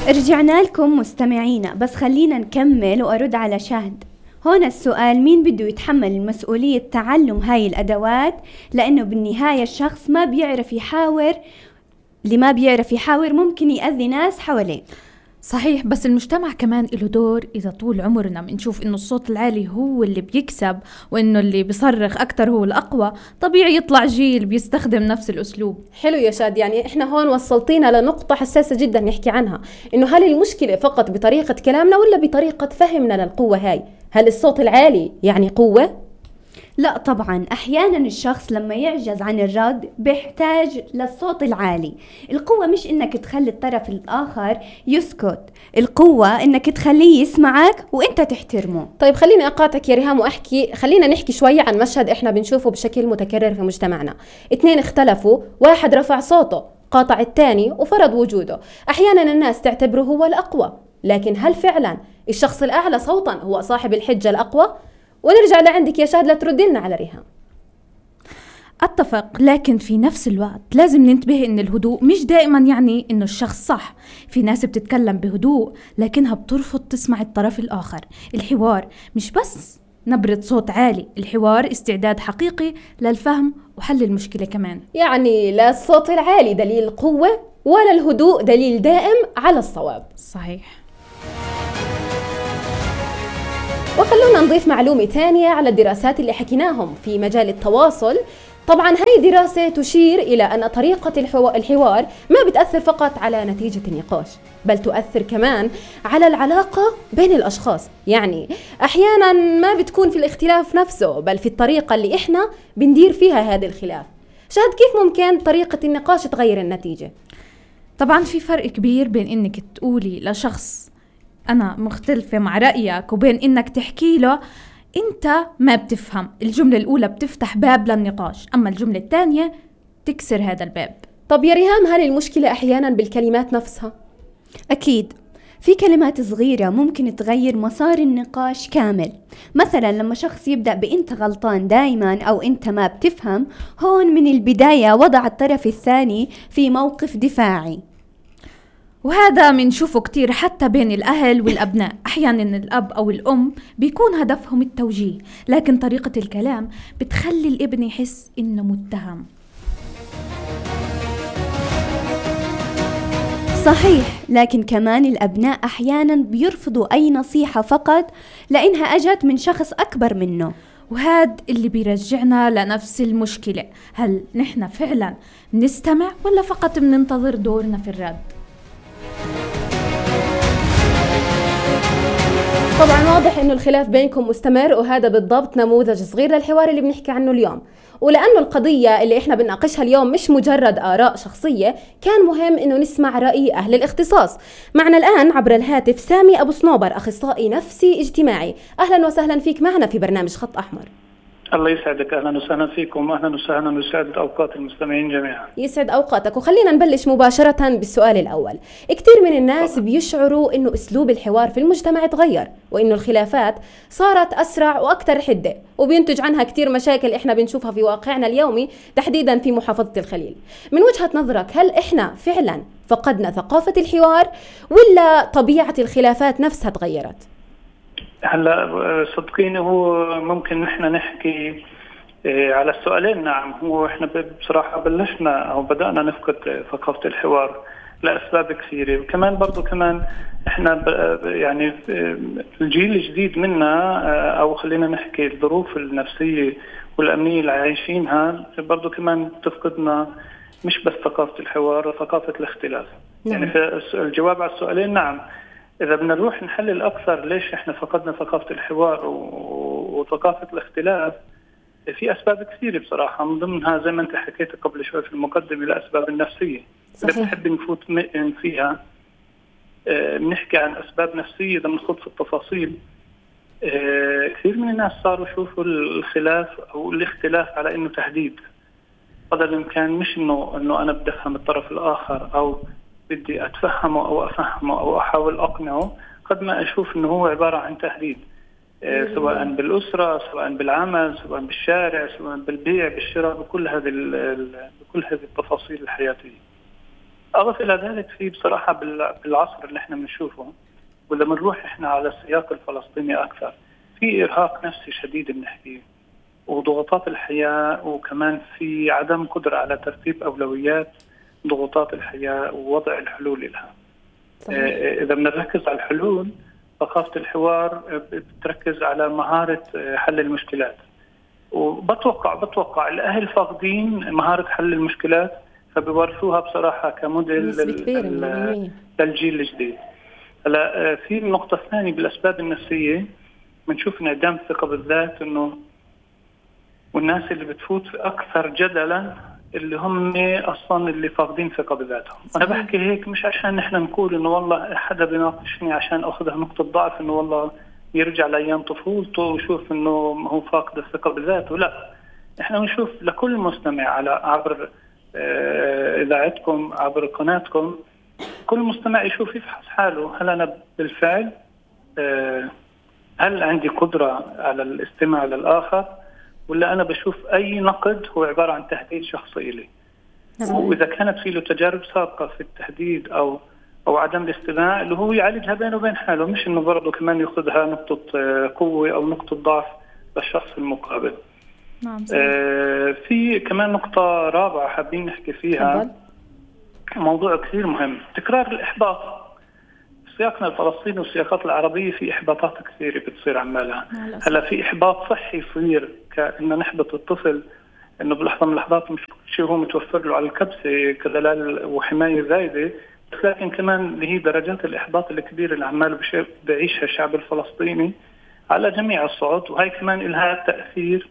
رجعنا لكم مستمعينا، بس خلينا نكمل وأرد على شاهد. هون السؤال: مين بده يتحمل مسؤولية تعلم هاي الأدوات؟ لأنه بالنهاية الشخص ما بيعرف يحاور، اللي ما بيعرف يحاور ممكن يأذي ناس حواليه. صحيح، بس المجتمع كمان له دور. إذا طول عمرنا بنشوف إنه الصوت العالي هو اللي بيكسب وإنه اللي بيصرخ أكتر هو الأقوى، طبيعي يطلع جيل بيستخدم نفس الأسلوب. حلو يا شاد، يعني إحنا هون وصلتينا لنقطة حساسة جدا نحكي عنها، إنه هل المشكلة فقط بطريقة كلامنا ولا بطريقة فهمنا للقوة هاي؟ هل الصوت العالي يعني قوة؟ لا طبعا، أحيانا الشخص لما يعجز عن الرد بيحتاج للصوت العالي. القوة مش إنك تخلي الطرف الآخر يسكت، القوة إنك تخليه يسمعك وإنت تحترمه. طيب خليني أقاطعك يا ريهام خلينا نحكي شوية عن مشهد إحنا بنشوفه بشكل متكرر في مجتمعنا. 2 اختلفوا، واحد رفع صوته قاطع الثاني وفرض وجوده. أحيانا الناس تعتبره هو الأقوى، لكن هل فعلا الشخص الأعلى صوتا هو صاحب الحجة الأقوى؟ ونرجع لعندك يا شاهد لترد لنا على ريهام. أتفق، لكن في نفس الوقت لازم ننتبه إن الهدوء مش دائما يعني إنه الشخص صح. في ناس بتتكلم بهدوء لكنها بترفض تسمع الطرف الآخر. الحوار مش بس نبرة صوت عالي، الحوار استعداد حقيقي للفهم وحل المشكلة كمان. يعني لا الصوت العالي دليل قوة ولا الهدوء دليل دائم على الصواب. صحيح. وخلونا نضيف معلومة تانية على الدراسات اللي حكيناهم في مجال التواصل. طبعا هاي دراسة تشير إلى أن طريقة الحوار ما بتأثر فقط على نتيجة النقاش، بل تؤثر كمان على العلاقة بين الأشخاص. يعني أحيانا ما بتكون في الاختلاف نفسه، بل في الطريقة اللي إحنا بندير فيها هذا الخلاف. شاهد كيف ممكن طريقة النقاش تغير النتيجة؟ طبعا في فرق كبير بين إنك تقولي لشخص أنا مختلفة مع رأيك وبين إنك تحكي له أنت ما بتفهم. الجملة الأولى بتفتح باب للنقاش، أما الجملة الثانية تكسر هذا الباب. طب يا ريهام، هل المشكلة أحيانا بالكلمات نفسها؟ أكيد، في كلمات صغيرة ممكن تغير مسار النقاش كامل. مثلا لما شخص يبدأ بأنت غلطان دايما أو أنت ما بتفهم، هون من البداية وضع الطرف الثاني في موقف دفاعي. وهذا منشوفه كتير حتى بين الأهل والأبناء. أحيانا الأب أو الأم بيكون هدفهم التوجيه، لكن طريقة الكلام بتخلي الابن يحس إنه متهم. صحيح، لكن كمان الأبناء أحيانا بيرفضوا أي نصيحة فقط لأنها أجت من شخص أكبر منه، وهذا اللي بيرجعنا لنفس المشكلة. هل نحن فعلا نستمع ولا فقط بننتظر دورنا في الرد؟ طبعا واضح انه الخلاف بينكم مستمر، وهذا بالضبط نموذج صغير للحوار اللي بنحكي عنه اليوم. ولأنه القضية اللي احنا بنناقشها اليوم مش مجرد آراء شخصية، كان مهم انه نسمع رأي أهل الاختصاص. معنا الآن عبر الهاتف سامي أبو صنوبر، أخصائي نفسي اجتماعي. أهلا وسهلا فيك معنا في برنامج خط أحمر. الله يسعدك، أهلا وسهلا فيكم، أهلا وسهلا، ويسعد أوقات المستمعين جميعا. يسعد أوقاتك. وخلينا نبلش مباشرة بالسؤال الأول. كتير من الناس بيشعروا إنه أسلوب الحوار في المجتمع تغير، وإنه الخلافات صارت أسرع وأكثر حدة، وبينتج عنها كتير مشاكل إحنا بنشوفها في واقعنا اليومي، تحديدا في محافظة الخليل. من وجهة نظرك، هل إحنا فعلا فقدنا ثقافة الحوار ولا طبيعة الخلافات نفسها تغيرت؟ هلا صدقيني، هو ممكن نحن نحكي على السؤالين. نعم، هو احنا بصراحة بلشنا او بدأنا نفقد ثقافة الحوار لأسباب كثيرة، وكمان برضو كمان احنا يعني الجيل الجديد منا، او خلينا نحكي الظروف النفسية والأمنية اللي عايشينها برضو كمان تفقدنا مش بس ثقافة الحوار وثقافة الاختلاف. يعني في الجواب على السؤالين نعم. إذا بدنا نروح نحلل أكثر ليش إحنا فقدنا ثقافة الحوار وثقافة الاختلاف، في أسباب كثيرة بصراحة، من ضمنها زي ما أنت حكيت قبل شوي في المقدمة الأسباب النفسية. إذا بنحب نفوت فيها بنحكي عن أسباب نفسية، إذا بنخوض في التفاصيل. كثير من الناس صاروا يشوفوا الخلاف أو الاختلاف على إنه تهديد، قدر الإمكان مش إنه أنا بدي أفهم الطرف الآخر أو بدي أتفهمه أو أفهمه أو أحاول أقنعه، قد ما أشوف إنه هو عبارة عن تهديد، سواء بالأسرة، سواء بالعمل، سواء بالشارع، سواء بالبيع بالشراء، بكل هذه التفاصيل الحياتية. أضف إلى ذلك في بصراحة بالعصر اللي احنا بنشوفه، وإذا بنروح احنا على السياق الفلسطيني أكثر، في إرهاق نفسي شديد بنحكيه، وضغوطات الحياة، وكمان في عدم قدرة على ترتيب أولويات ضغوطات الحياة ووضع الحلول لها. إذا بنركز على الحلول، ثقافة الحوار بتركز على مهارة حل المشكلات، وبتوقع الأهل فاقدين مهارة حل المشكلات، فبيورثوها بصراحة كموديل للجيل الجديد. هلا في النقطة الثانية بالأسباب النفسية، بنشوف انعدام الثقة بالذات، انه والناس اللي بتفوت أكثر جدلا اللي هم أصلا اللي فاقدين ثقة بذاتهم. أنا بحكي هيك مش عشان نحن نقول إنه والله حدا بيناقشني عشان أخذها نقطة ضعف، إنه والله يرجع لأيام طفولته ويشوف إنه هو فاقد الثقة بذاته. لا، إحنا بنشوف لكل مستمع على عبر إذاعتكم، عبر قناتكم، كل مستمع يشوف يفحص حاله، هل أنا بالفعل هل عندي قدرة على الاستماع للآخر، ولا أنا بشوف أي نقد هو عبارة عن تهديد شخصي لي. وإذا كانت في له تجارب سابقة في التهديد أو عدم الاستماع، اللي هو يعالجها بينه وبين حاله، مش إنه برضه كمان يأخذها نقطة قوة أو نقطة ضعف للشخص المقابل. في كمان نقطة رابعة حابين نحكي فيها، موضوع كثير مهم، تكرار الإحباط. سياقنا الفلسطيني والسياقات العربية في إحباطات كثيرة بتصير عمالها. هلا في إحباط صحي يصير كأنه نحبط الطفل، إنه بلحظة من اللحظات مش شيء هو متوفر له على الكبسة كدلال وحماية زايدة، لكن كمان اللي هي درجات الإحباط الكبيرة اللي عماله بعيشها الشعب الفلسطيني على جميع الصعود. وهي كمان لها تأثير،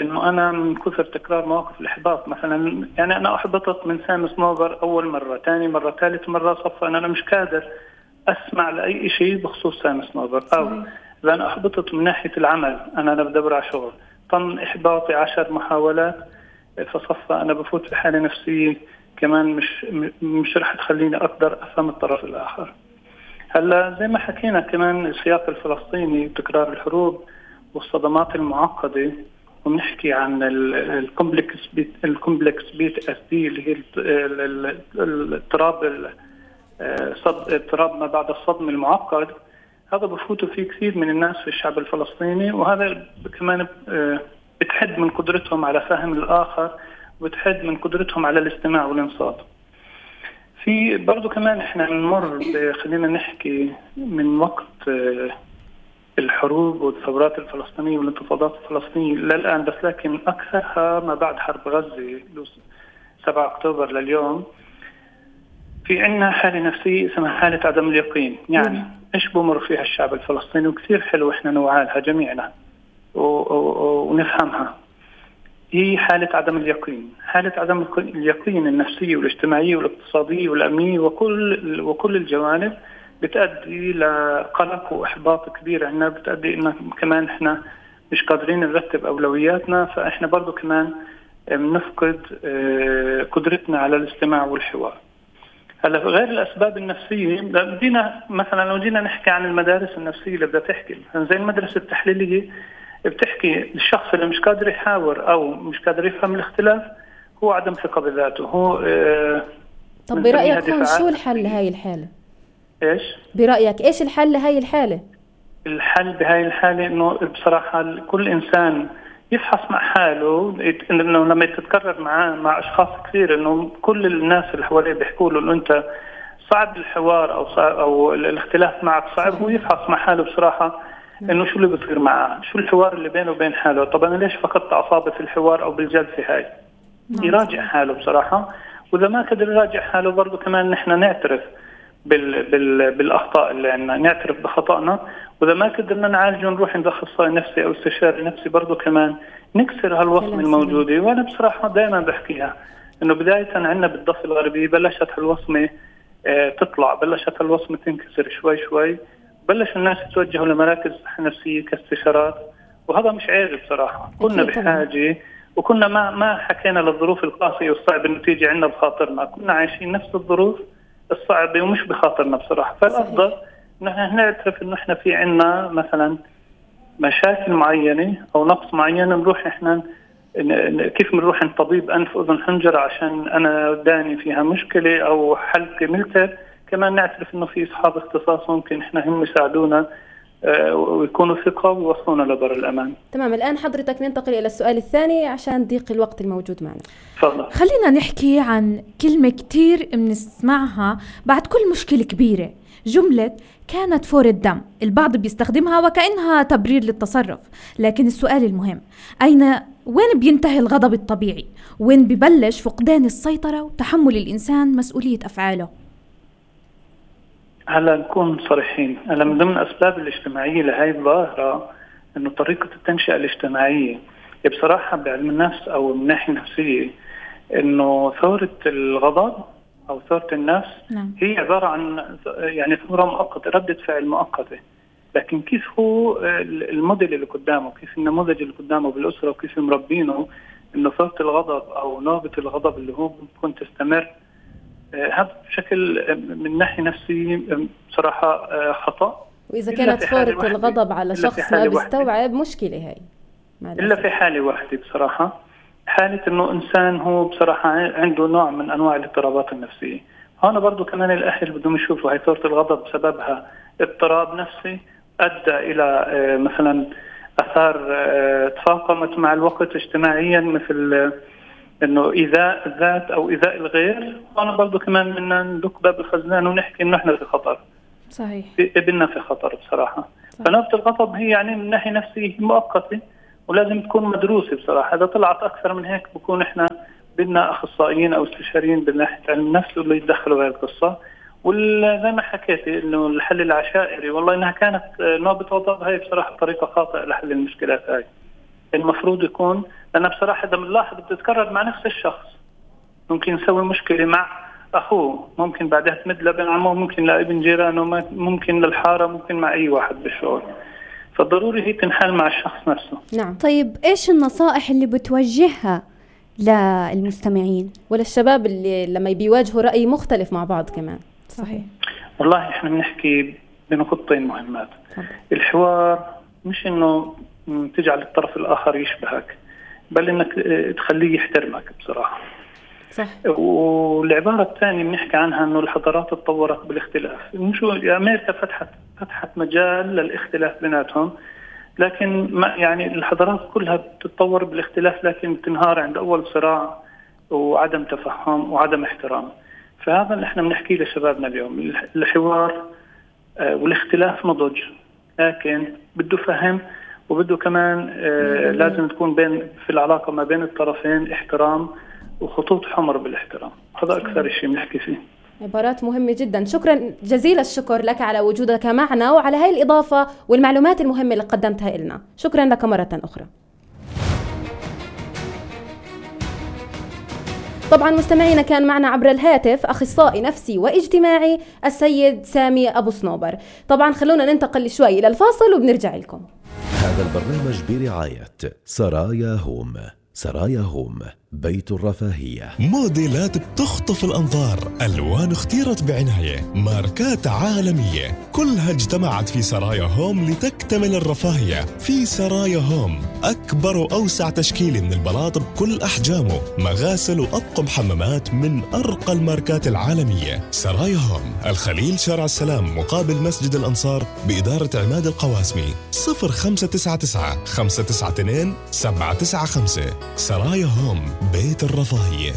إنه أنا من كثر تكرار مواقف الإحباط، مثلا يعني أنا أحبطت من سام سنوفر أول مرة، ثاني مرة، ثالث مرة، صفى أنا مش قادر أسمع لأي شيء بخصوص سام سنوفر. أو إذا أنا أحبطت من ناحية العمل، أنا بدور على شغل، طن إحباطي 10 محاولات، فصفى أنا بفوت في حالة نفسية كمان مش رح تخليني أقدر أفهم الطرف الآخر. هلا زي ما حكينا كمان السياق الفلسطيني وتكرار الحروب والصدمات المعقدة، ونحكي عن الكومبلكس بيت SD اللي هي اضطراب ما بعد الصدمة المعقد. هذا بفوتوا فيه كثير من الناس في الشعب الفلسطيني، وهذا كمان بتحد من قدرتهم على فهم الآخر، وبتحد من قدرتهم على الاستماع والانصات. في برضو كمان احنا بنمر خلينا نحكي من وقت الحروب والثورات الفلسطينية والانتفاضات الفلسطينية للآن، بس لكن أكثرها ما بعد حرب غزة 7 أكتوبر لليوم، في عنا حالة نفسية اسمها حالة عدم اليقين. يعني إيش بمر فيها الشعب الفلسطيني، وكثير حلو إحنا نوعالها جميعنا ونفهمها. هي حالة عدم اليقين، حالة عدم اليقين النفسية والاجتماعية والاقتصادية والأمنية وكل الجوانب بتأدي لقلق وإحباط كبير عنا، بتأدي إن كمان إحنا مش قادرين نرتب أولوياتنا، فإحنا برضو كمان بنفقد قدرتنا على الاستماع والحوار. هلا غير الأسباب النفسية، بدينا مثلا لو جينا نحكي عن المدارس النفسية اللي بدها تحكي زي المدرسة التحليلية، بتحكي الشخص اللي مش قادر يحاور أو مش قادر يفهم الاختلاف هو عدم ثقة بذاته. هو طب برأيك شو الحل لهاي الحالة؟ إيش؟ برأيك إيش الحل لهاي الحالة؟ الحل بهاي الحالة إنه بصراحة كل إنسان يفحص مع حاله، إنه لما يتكرر مع أشخاص كثير، إنه كل الناس اللي حواليه بيحكوا له إنه أنت صعب الحوار أو الاختلاف معك صعب، هو يفحص مع حاله بصراحة إنه شو اللي بصير معه، شو الحوار اللي بينه وبين حاله. طب أنا ليش فقدت أعصابي في الحوار أو بالجلسة هاي؟ يراجع حاله بصراحة، وإذا ما قدر يراجع حاله برضو كمان نحن نعترف بالأخطاء اللي عندنا، نعترف بخطأنا، وإذا ما قدرنا نعالجه نروح عند أخصائي نفسي أو استشاري نفسي برضو كمان نكسر هالوصمة الموجودة. وأنا بصراحة دائما بحكيها إنه بداية عندنا بالضفة الغربية بلشت هالوصمة تطلع، بلشت هالوصمة تنكسر شوي شوي، بلش الناس يتوجهوا لمراكز نفسية كاستشارات، وهذا مش عيب بصراحة. كنا بحاجة، وكنا ما حكينا للظروف القاسية والصعبة إنه تيجي عنا بخاطرنا، كنا عايشين نفس الظروف الصعبة ومش بخاطرنا بصراحة. فالأفضل نحن نعترف إنه إحنا في عنا مثلا مشاكل معينة أو نقص معين، نروح إحنا كيف بنروح عند طبيب أنف أذن حنجرة عشان أنا داني فيها مشكلة أو حلقة ملتر، كمان نعترف إنه في أصحاب اختصاص ممكن إحنا هم يساعدونا ويكونوا ثقة ويوصلونا لبر الأمان. تمام، الآن حضرتك ننتقل إلى السؤال الثاني عشان ضيق الوقت الموجود معنا. تفضل. خلينا نحكي عن كلمة كتير بنسمعها بعد كل مشكلة كبيرة، جملة كانت فور الدم. البعض بيستخدمها وكأنها تبرير للتصرف، لكن السؤال المهم، وين بينتهي الغضب الطبيعي؟ وين ببلش فقدان السيطرة وتحمل الإنسان مسؤولية أفعاله؟ هلا نكون صريحين، هلا من ضمن الأسباب الاجتماعية لهي الظاهرة إنه طريقة التنشئة الاجتماعية بصراحة بعلم النفس أو من ناحية نفسية إنه ثورة الغضب أو ثورة النفس هي عبارة عن يعني ثورة مؤقتة، ردة فعل مؤقتة، لكن كيف هو الموديل اللي قدامه، كيف النموذج اللي قدامه بالأسرة وكيف مربينه إنه ثورة الغضب أو نوبة الغضب اللي هو ممكن تستمر، هذا بشكل من ناحية نفسية بصراحة خطأ. وإذا كانت فورة الغضب على شخص ما بيستوعب مشكلة هاي إلا في حالة واحدة بصراحة، حالة إنه إنسان هو بصراحة عنده نوع من أنواع الاضطرابات النفسية. هنا برضو كمان الأهل بدهم يشوفوا هاي ثورة الغضب بسببها اضطراب نفسي أدى إلى مثلا أثار تفاقمت مع الوقت اجتماعيا، مثل إنه إيذاء الذات أو إيذاء الغير. أنا برضو كمان بدنا ندق باب الخزنان ونحكي إنه إحنا في خطر. صحيح. ابننا في خطر بصراحة. فنوبة الغضب هي يعني من ناحية نفسية مؤقتة ولازم تكون مدروسة بصراحة. إذا طلعت أكثر من هيك بكون إحنا بدنا أخصائيين أو استشاريين بالناحية علم النفس اللي يتدخلوا بهذه القصة. وزي ما حكيت إنه الحل العشائري، والله إنها كانت نوبة غضب، هاي بصراحة طريقة خاطئة لحل المشكلات هاي. المفروض يكون، لأن بصراحة إذا بنلاحظ بتتكرر مع نفس الشخص، ممكن يسوي مشكلة مع أخوه، ممكن بعدها تمد لابن عمه، ممكن لابن جيرانه، ممكن للحارة، ممكن مع أي واحد بالشغل. فالضروري هي تنحل مع الشخص نفسه. نعم. طيب إيش النصائح اللي بتوجهها للمستمعين وللشباب اللي لما بيواجهوا رأي مختلف مع بعض كمان؟ صحيح. والله إحنا بنحكي بنقطتين مهمات. الحوار مش إنه تجعل الطرف الآخر يشبهك، بل إنك تخليه يحترمك بصراحة. صح. والعبارة الثانية بنحكي عنها إنه الحضارات تطورت بالاختلاف. مش أمريكا فتحت مجال للاختلاف بيناتهم، لكن ما يعني الحضارات كلها بتتطور بالاختلاف، لكن بتنهار عند أول صراع وعدم تفهم وعدم احترام. فهذا اللي احنا بنحكيه لشبابنا اليوم، الحوار والاختلاف نضج، لكن بده فهم وبده كمان لازم تكون في العلاقة ما بين الطرفين احترام وخطوط حمر بالاحترام. هذا أكثر شيء بنحكي فيه. عبارات مهمة جدا. شكرا جزيل الشكر لك على وجودك معنا وعلى هاي الإضافة والمعلومات المهمة اللي قدمتها لنا. شكرا لك مرة أخرى. طبعا مستمعينا كان معنا عبر الهاتف أخصائي نفسي واجتماعي السيد سامي أبو صنوبر. طبعا خلونا ننتقل شوي إلى الفاصل وبنرجع لكم. هذا البرنامج برعاية سرايا هوم. سرايا هوم، بيت الرفاهية. موديلات بتخطف الأنظار، ألوان اختيرت بعناية، ماركات عالمية، كلها اجتمعت في سرايا هوم لتكتمل الرفاهية. في سرايا هوم أكبر وأوسع تشكيل من البلاط بكل أحجامه، مغاسل وأطقم حمامات من أرقى الماركات العالمية. سرايا هوم، الخليل، شارع السلام، مقابل مسجد الأنصار، بإدارة عماد القواسمي. 0599 592 795. سرايا هوم، بيت الرفاهية.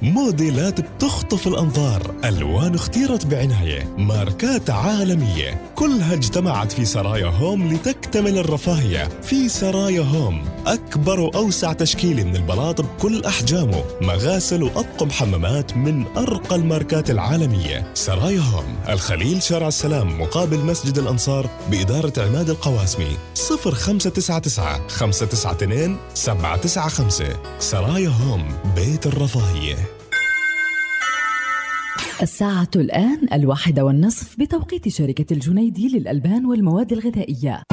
موديلات بتخطف الأنظار، ألوان اختيرت بعناية، ماركات عالمية، كلها اجتمعت في سرايا هوم لتكتمل الرفاهية. في سرايا هوم أكبر وأوسع تشكيل من البلاط بكل أحجامه، مغاسل وأطقم حمامات من أرقى الماركات العالمية. سرايا هوم، الخليل، شارع السلام، مقابل مسجد الأنصار، بإدارة عماد القواسمي. 0599 592 795. سرايا هوم، بيت الرفاهية. الساعة الآن 1:30 بتوقيت شركة الجنيدي للألبان والمواد الغذائية.